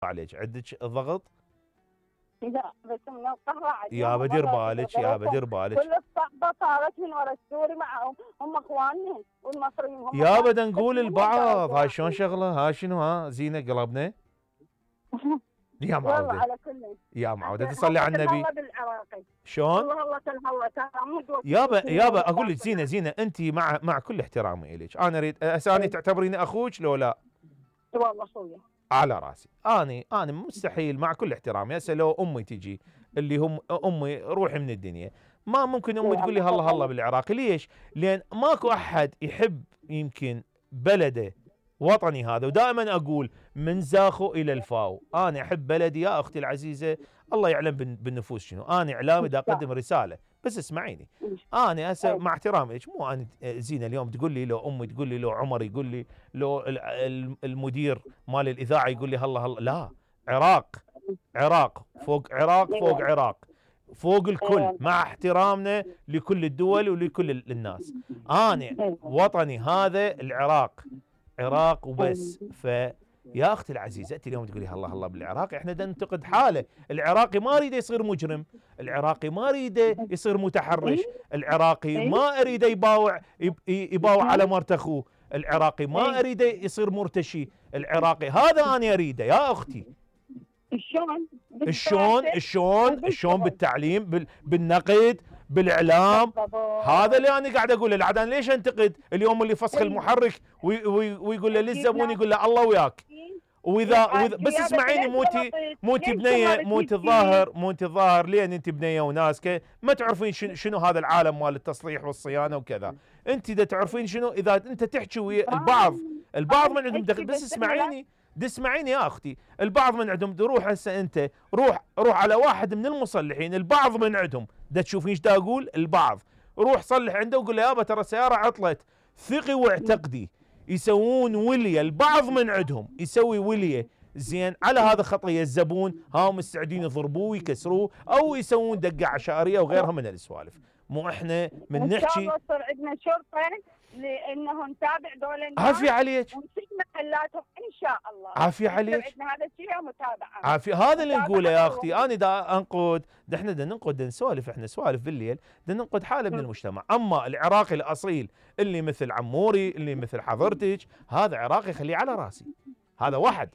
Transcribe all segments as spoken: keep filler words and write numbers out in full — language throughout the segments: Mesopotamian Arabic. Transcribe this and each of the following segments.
عليك عندك ضغط؟ لا بس من القهوة يا بدير بالك يا بدير بالك كل الصحبة صارت من ورا السوري معهم، هم اخواننا والمصريين هم يا بدا نقول البعض هاي شلون شغله، هاي شنو ها زينه قلبنا يا معوده على كل يا معوده تصلي على النبي شلون؟ والله والله يابا يابا اقول لك زينه زينه انت مع مع كل احترامي اليك انا اريد اساني تعتبريني اخوك لو لا؟ والله اخويا على راسي، اني انا مستحيل مع كل احترامي هسه لو امي تجي اللي هم امي روحي من الدنيا ما ممكن امي تقول لي هلا هلا بالعراقي، ليش؟ لان ماكو احد يحب يمكن بلده وطني هذا، ودائما اقول من زاخو الى الفاو، انا احب بلدي يا اختي العزيزه، الله يعلم بالنفوس شنو، انا اعلامي دا اقدم رساله بس اسمعيني، انا هسه مع احترامي لك مو انا زينه اليوم تقول لي لو امي تقول لي لو عمر يقول لي لو المدير مال الاذاعه يقول لي هلا هلا، لا، عراق عراق فوق عراق فوق عراق فوق الكل مع احترامنا لكل الدول ولكل الناس، انا وطني هذا العراق عراق وبس. فيا اختي العزيزه انت اليوم تقولي هلا هلا بالعراق، احنا بدنا ننتقد حاله، العراقي ما اريده يصير مجرم، العراقي ما اريده يصير متحرش، العراقي ما اريده يباوع يباوع على مرت اخوه، العراقي ما اريده يصير مرتشي، العراقي هذا انا اريده يا اختي. شلون؟ شلون شلون شلون بالتعليم بالنقد بالاعلام، هذا اللي انا قاعد اقوله، العاد انا ليش انتقد اليوم اللي فسخ المحرك ويقول له للزبون يقول له الله وياك، واذا واذا بس اسمعيني موتي موتي بنيه موتي الظاهر موتي الظاهر لين انت بنيه وناسكه ما تعرفين شنو, شنو هذا العالم مال التصليح والصيانه وكذا، انت اذا تعرفين شنو اذا انت تحكي ويا البعض البعض من عندهم دخل، بس اسمعيني دي اسمعيني يا اختي، البعض من عندهم روح هسه انت روح روح على واحد من المصلحين، البعض من عندهم دا تشوفين ايش دا اقول، البعض روح صلح عنده وقول له يابا ترى السياره عطلت، ثقي واعتقدي يسوون وليه، البعض من عندهم يسوي وليه زين على هذا خطيه الزبون، ها مستعدين يضربوه ويكسروه او يسوون دقه عشائريه وغيرها من السوالف، مو احنا من نحكي ان شاء الله يصير عندنا شرطه لانه نتابع دول الناس عافيه عليك ونسيب محلاتهم ان شاء الله، عافيه عليك عندنا هذا الشيء متابعه عافيه، هذا اللي نقوله يا اختي، انا دا انقد دا احنا دا ننقد دا نسولف احنا سوالف بالليل دا ننقد حاله من المجتمع، اما العراقي الاصيل اللي مثل عموري اللي مثل حضرتك هذا عراقي خليه على راسي، هذا واحد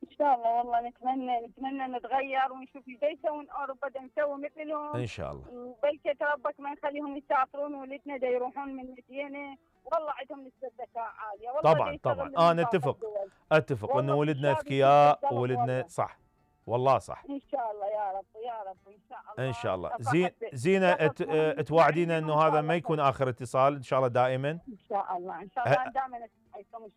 ان شاء الله والله نتمنى نتمنى نتغير ونشوف ايش يسوون اوروبا دا نسوي مثلهم ان شاء الله، بلكي ربك ما نخليهم يسافرون ولدنا دا يروحون من مدينه، والله عندهم نسبه ذكاء عاليه والله طبعا طبعا انا اتفق اتفق انه ولدنا اذكياء وولدنا صح والله صح ان شاء الله يا رب يا رب ان شاء الله ان شاء الله. زين زينه توعدينا انه هذا ما يكون اخر اتصال ان شاء الله دائما ان شاء الله ان شاء الله دائما ان شاء الله.